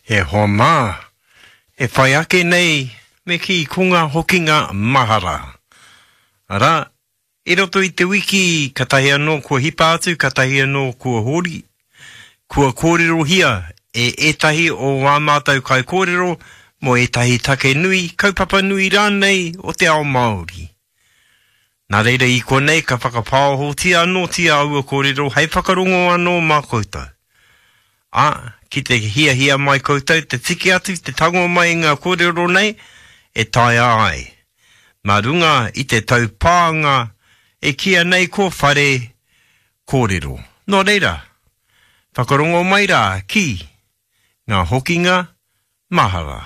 E hoa mā, e whai ake nei me kī ko ngā hokinga mahara. Arā, i roto i te wiki katahi anō kua hipa atu, katahi anō kua hori, kua kōrerohia e ētahi o ā mātou kaikōrero mō ētahi take nui, kaupapa nui rānei o te ao Māori. Nā reira i konei ka whakapāohotia anōtia aua kōrero hei whakarongo anō mā koutou. Ā, ki te hiahia mai koutou te tiki atu, te tango mai i ngā kōrero nei, e taea ai. Mā runga i te taupānga e kīia nei ko Whare Kōrero. Nō reira, whakarongo mai rā ki ngā hokinga mahara.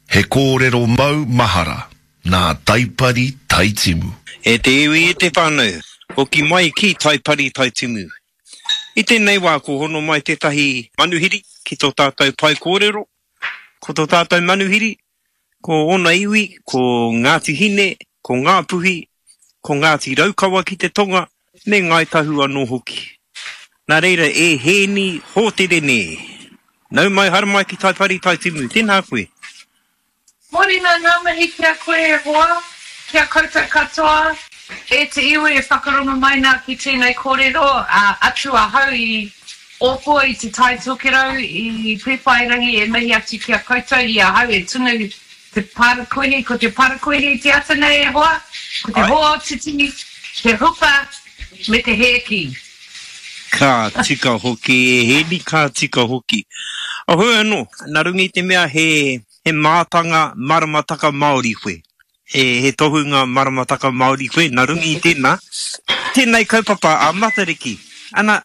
He kōrero mau mahara nā Taipari Taitimu. E te iwi e te whānau, hoki mai ki Taipari Taitimu. I tēnei wā ko hono mai tētahi manuhiri ki tō tātou pae kōrero. Ko tō tātou manuhiri, ko ōna iwi, ko Ngāti Hine, ko Ngāpuhi, ko Ngāti Raukawa ki te tonga, me Ngāi Tahu anō hoki. Nā reira e Hēni Hōterene, nau mai haere mai ki Taipari Taitimu, tēnā koe. Morena ngā mihi ki a koe e hoa, ki a koutou katoa, e te iwi e whakarongo mai nā ki tēnei kōrero, ā, atu ahau i Ōpua i Te Tai Tokerau, i Pēwhairangi e mihi atu ki a koutou i ahau e tunu Te parakuihi, ko te parakuihi te ata nei e hoa, ko te hootiti, te hupa me te hēki. Ka tika hoki e Hēni, ka tika hoki. Hoi anō, nā runga i te mea he, he mātanga maramataka Māori koe, he, he tohunga maramataka Māori koe, nā runga i tēnā, tēnei kaupapa a Matariki, ana,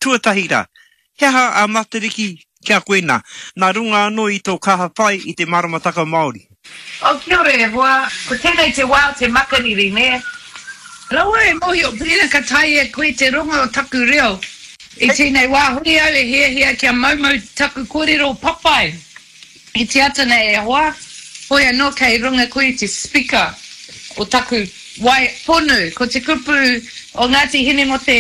Tuatahi rā, he aha a Matariki ki a koe nā, nā runga anō i tō kaha whai i te maramataka Māori? Oh, kia ora e hoa, ko tēnei te wā o te makariri, nē? Rawa e mōhio pēnā ka taea e koe te rongo o taku reo i tēnei wā, hori au e hiahia kia moumou taku kōrero papai. I te ata nei e hoa, hoi anō kei runga koe i te speaker o taku waea ponu, ko te kupu o Ngāti Hine mō te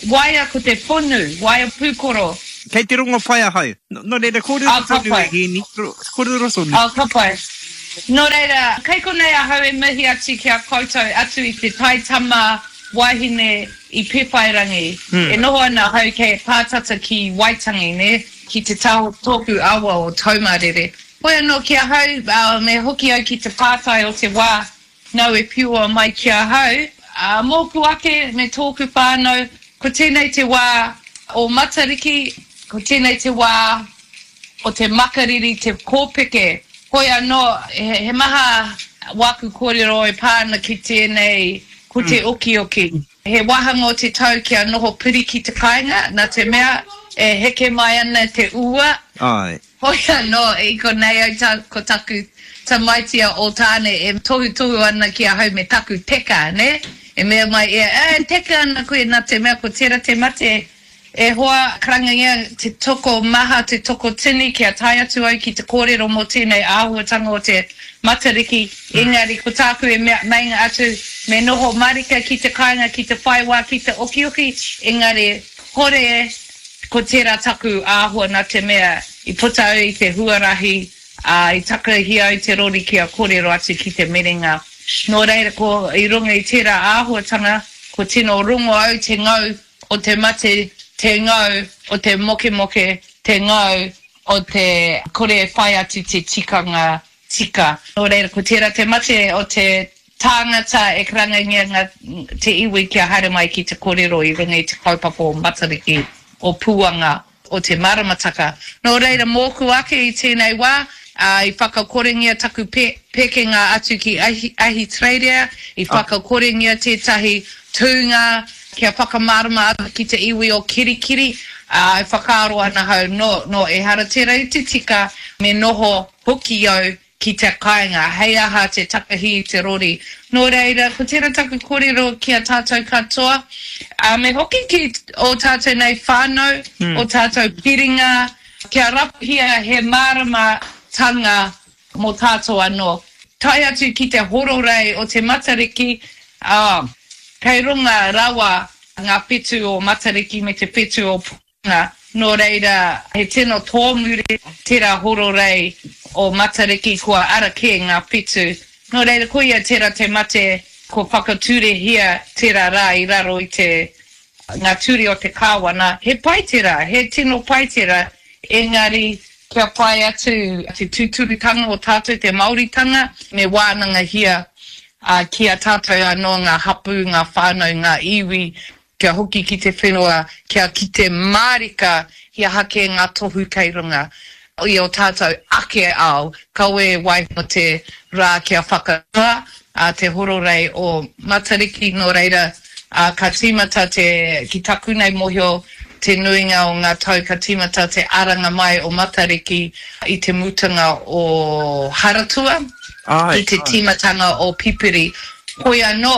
waea ko te ponu, waea pūkoro. Kei te rongo pai ahau. Nō reira, kōrero tonu e Hēni, kōrero tonu. Oh, ka pai. Nō reira, kei konei ahau e mihi atu ki a koutou, atu i te taitama wahine i Pewhairangi. E noho ana ahau kei pātata ki Waitangi, nē? Ki te taha o tōku awa o Taumarere. Hoi anō ki ahau, me hoki au ki te pātai o te wā nau e piua mai ki ahau. Mōku ake me tōku whānau, ko tēnei te wā o Matariki, ko tēnei te wā o te makariri, te kōpeke. Hoi anō, he maha wāku kōrero e pā ana ki tēnei, ko te okioki. He wāhanga o te tau kia noho piri ki te kāinga, nā te mea e heke mai ana te ua. Āe. Hoi anō, i konei au ta, ko taku tamaiti a Ōtāne e tohutohu ana ki ahau me taku teka, nē? E mea mai ia, E, teka ana koe nā te mea ko tērā te mate E hoa, karangangia te toko maha, te toko tini kia tae atu au ki te kōrero mō tēnei āhuatanga o te Matariki, engari ko tāku e mea, meinga atu, me noho marika ki te kāinga ki te whai wā ki te okioki, engari hore ko tērā taku āhua nā te mea i puta au i te huarahi, ā, i takahi au te rori kia kōrero atu ki te merenga. Nō reira, ko, i runga i tērā āhuatanga, ko tino rongo au te ngau o te mate, te ngau o te mokemoke, te ngau o te kore e whai atu te tikanga tika. Nō reira, ko tērā te mate o te tāngata e karangangia ngā, te iwi kia haere mai ki te kōrero i runga i te kaupapa o Matariki, o Puanga, o te maramataka. Nō reira, mōku ake i tēnei wā, ā, i whakakorengia taku pe, pekenga atu ki Ahi, Ahitereiria, i whakakorengia tētahi tūnga kia whakamārama atu ki te iwi o Kirikiri, ā, e whakaaro ana ahau, nō, nō, ehara tērā i te tika, me noho hoki au ki te kāinga, hei aha te takahi i te rori. Nō reira, ko tērā taku kōrero ki a tātou katoa, ā, me hoki ki ō tātou nei whānau, ō tātou piringa, kia rapuhia he māramatanga mō tātou anō. Tae atu ki te hororei o te Matariki, ā, kei runga rawa. Ngā whetū o Matariki me te whetū o Puanga, nō reira he tino tōmuri tērā hororei o Matariki kua ara kē ngā whetū. Nō reira koia tērā te mate kua whakaturehia tērā rā i raro i te ngā ture o te kāwana, he pai tērā, he tino pai tērā, engari kia whai atu te tūturutanga o tātou, te Māoritanga, me wānangahia ki a tātou anō ngā hapū, ngā whānau, ngā iwi, kia hoki ki te whenua, kia kite mārika he aha kē ngā tohu kei runga i ō tātou ake ao, kawe e waiho te rā kia whakanoa a te hororei o Matariki, nō reira, ka tīmata te, ki taku nei mōhio, te nuinga o ngā tau ka tīmata te aranga mai o Matariki i te mutunga o Haratua, i te tīmatanga o Pipiri. Hoi anō,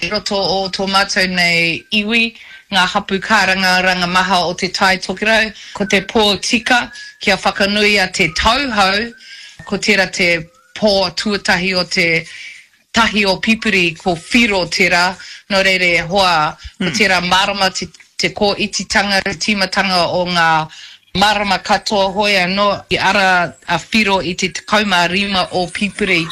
i roto o tō mātou nei iwi, ngā hapū kārangaranga maha o Te Tai Tokerau, ko te pō tika kia whakanuia te tau hou, ko tērā te pō tuatahi o te tahi o Pipiri ko Whiro tērā, nō reira e hoa, ko tērā marama te, te kōititanga, te tīmatanga o ngā marama katoa hoi anō i ara a Whiro i te 15 o Pipiri,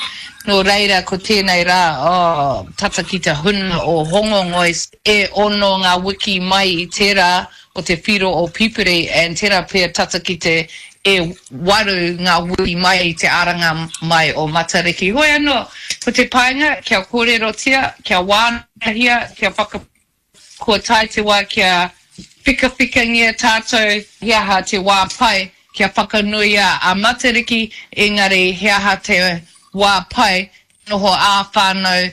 nō reira ko tēnei rā, oh, tata ki te huna o Hongongoi, e ono ngā wiki mai i tērā o te whiro o Pipiri and tera pea tata ki te e waru nga wiki mai i te aranga mai o Matariki. Hoi ano, ko te painga kia korerotia, kia wanahia, kia whaka kua tae te wa kia whikawhikangia tatou he aha te wa pai kia whakanuia a Matariki engari he aha te wa pai noho a-whanau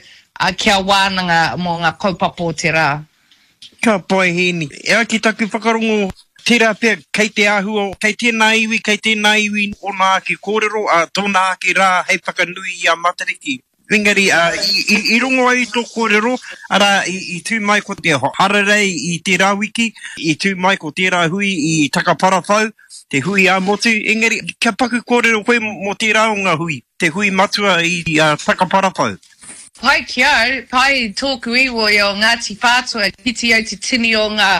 kia wananga mo nga kaupapa o te ra. Ka pai Hēni. E ai ki taku whakarongo, tērā pea kei te āhua, kei tēnā iwi, kei tēnā iwi ōna ake kōrero, ā, tōna ake rā hei whakanui i a Matariki. Engari, ā, i, i, i rongo ai i tō kōrero, arā, i, i tū mai ko te hararei i tērā wiki, i tū mai ko tērā hui i Takaparawhau, te hui ā-motu, engari, kia paku kōrero koe mō tērā o ngā hui, te hui matua i Takaparawhau. Pai ki au, pai tōku iwi o Ngāti Whātua, kite au te tini o ngā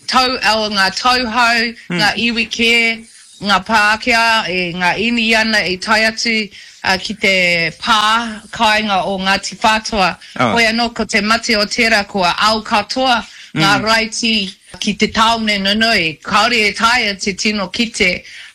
tau, o ngā tauhou, ngā iwi kē, ngā Pākehā, ngā Īniana i tae atu ki te pā kāinga o Ngāti Whātua. Hoi anō ko te mate o tērā kua ao katoa ngā raiti ki te tāone nunui, kāore e taea te tino kite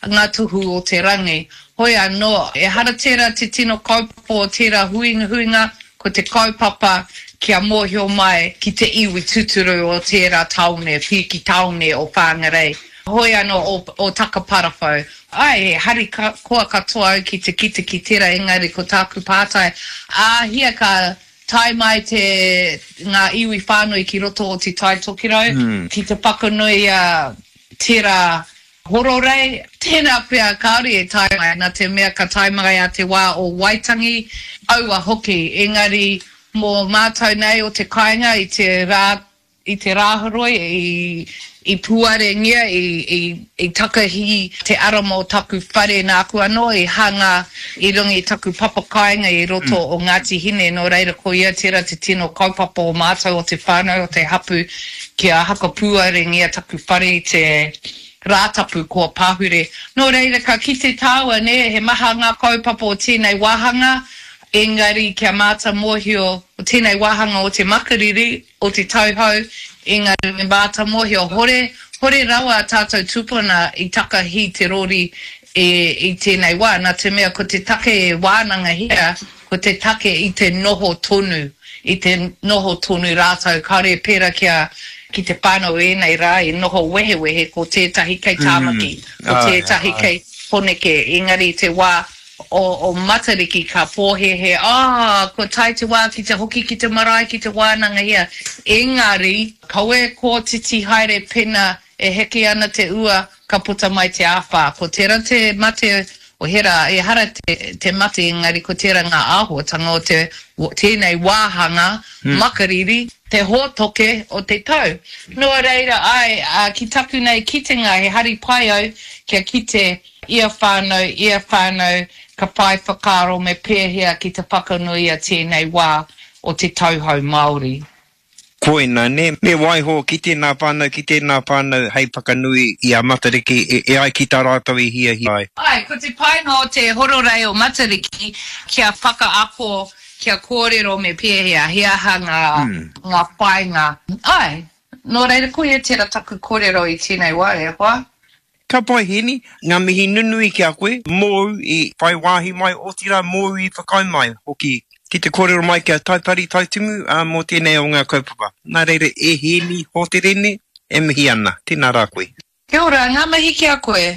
ngā tohu o te rangi. Hoi anō, ehara tērā te tino kaupapa o tērā huingahuinga, ko te kaupapa kia mōhio mai ki te iwi tūturu o tērā tāone, pīki tāone o Whangarei, hoi anō o, o Takaparawhau. Āe, he hari koa katoa au ki te kite ki tērā, engari ko tāku pātai, āhea ka tae mai te, ngā iwi whānui ki roto o Te Tai Tokerau ki te whakanuia tērā Hororei, tēnā pea kāore e tae mai, nā te mea ka tae mai a te wā o Waitangi, aua hoki, engari mō mātou nei o te kāinga i te rā, i te Rāhoroi i, i puarengia, i, i, i takahi te ara mō taku whare nāku anō i hanga i runga i taku papa kāinga i roto o Ngāti Hine, nō reira ko ia tērā te tino kaupapa o mātou o te whānau, o te hapū kia hakapuarengia taku whare i te Rātapu kua pahure. Nō reira ka kite tāua, nē, he maha ngā kaupapa o tēnei wāhanga, engari kia māta mōhio, o tēnei wāhanga o te makariri, o te tauhou, engari me māta mōhio, hore, hore rawa a tātou tupuna i takahi te rori e, i tēnei wā, nā te mea ko te take e wānangahia, Ko te take i te noho tonu, i te noho tonu rātou, kāore e pērā ki a, ki te whānau o ēnei rā i noho wehewehe, ko tētahi kei Tāmaki, ko tētahi kei Poneke, engari i te wā o, o Matariki ka pōhēhē, ah, kua tae te wā ki te hoki ki te marae, ki te wānangahia, engari, kaua e kōtiti haere pena E heke ana te ua, ka puta mai te āwhā. Ko tērā te mate o hera, ehara te, te mate engari ko tērā ngā āhuatanga o te, tēnei wāhanga makariri, te hōtoke o te tau. Nō reira, āe, ki taku nei kitenga he hari pai au kia kite ia whānau, ia whānau ka whai whakaaro me pēhea ki te whakanuia tēnei wā o te tauhou Māori. Koina, nē, me waiho ki tēnā whānau, ki tēnā whānau hei whakanui i a Matariki e, e ai ki tā rātou i hiahia ai. Āe, ko te painga o te hororei o Matariki, kia whakaako, kia kōrero me pēhea, he aha ngā, ngā whāinga. Āe, nō reira koia tērā taku kōrero i tēnei wā, e hoa. Ka pai Heni, ngā mihi nunui ki a koe, mōu i whai wāhi mai otirā mōu i whakaae mai hoki ki te kōrero mai ki a Taipari Taitimu mō tēnei o ngā kaupapa. Nā reira e Heni Hoterene e mihi ana, tēnā rā koe. Kia ora, ngā mihi ki a koe.